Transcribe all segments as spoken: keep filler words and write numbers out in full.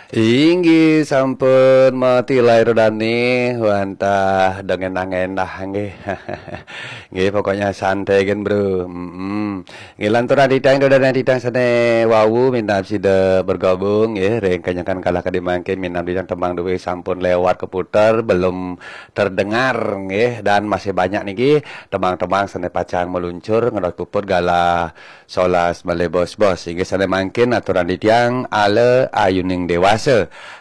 Inggih sampun mati lair dani wantah dengan nangéndah nggih. Nggih, pokoknya santai kan, Bro. Mm-mm. Nggih, lanturan titiang, dodonan titiang sané wau minab sida bergabung nggih, ring kenyekan kala kadi mangkin minab titiang tembang dué sampun lewat keputer, belum terdengar nggih, dan masih banyak niki tembang-tembang sané pacang meluncur ngedot puput galah solas malih bos-bos. Inggih sané mangkin aturan titiang ala ayuning dewasa.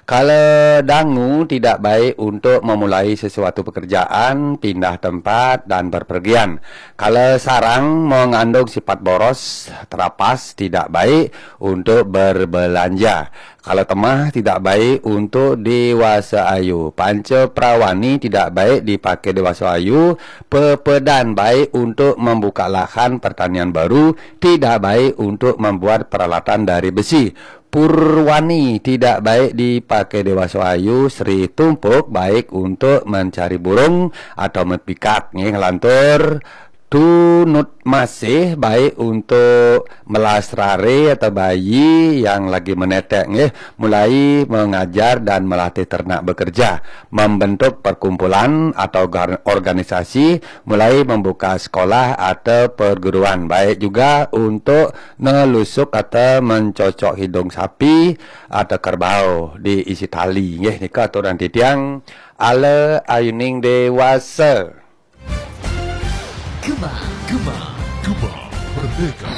Kala dangu tidak baik untuk memulai sesuatu pekerjaan, pindah tempat, dan berpergian. Kala sarang mengandung sifat boros, terapas, tidak baik untuk berbelanja. Kala temah tidak baik untuk dewasa ayu. Panca prawani tidak baik dipakai dewasa ayu. Pepedan baik untuk membuka lahan pertanian baru, tidak baik untuk membuat peralatan dari besi. Purwani tidak baik dipakai dewasa ayu, Sri Tumpuk baik untuk mencari burung atau mepikat. Nggih, ngelantur. Tunut masih baik untuk melasrare atau bayi yang lagi menetek, nggih, mulai mengajar dan melatih ternak bekerja, membentuk perkumpulan atau gar-, organisasi, mulai membuka sekolah atau perguruan, baik juga untuk nelusuk atau mencocok hidung sapi atau kerbau diisi tali, nggih, nika aturan titiang ala ayuning dewasa. Gema, Gema, Gema Merdeka.